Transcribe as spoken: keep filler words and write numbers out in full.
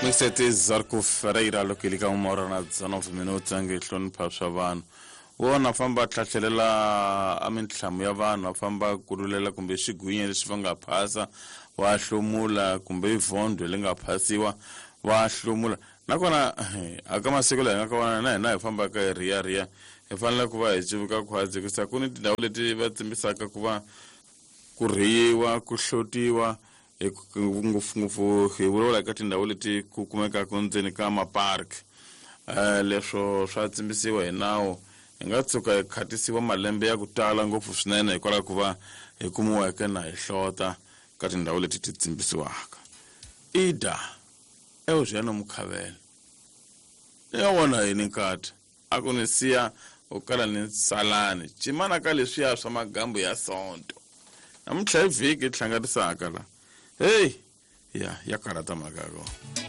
Misete Zarco Ferreira loko hi le ka uma hora na dezenove minutos a nge hlonipha swa vanhu wona a famba a tlhatlhelela a mintlhamu ya vanhu a famba a kululela kumbe xigwinya lexi va nga phasa wa hlomula kumbe ivhondwe leri nga phasiwa wa hlomula nakona a ka masiku laha hi nga ka wona na hina hi fambaka hi rhiyarhiya hi fanele ku va hi civuka khwatsi hikusa ku ni tindhawu leti va tsimbisaka ku va ku rhiyiwa ku hlotiwa ngopfungopfu hi vulavula ka tindhawu leti ku kumekaka ndzeni ka mapark um leswo swa tsimbisiwa hi nawu hi nga tshuka hi khatisiwa malembe ya ku tala ngopfu swinene hikwalaho ku va hi kumiweke na hi hlota ka tindhawu leti ti tsimbisiwaka ida Eugene Mukhavela ni ya vona yini nkati a ku ni siya u kala ni salani cimana ka leswiya swa magambu ya sonto namuntlha hi vhiki hi hlanganisaka la heyi ya ya karhata mhaka ya kona.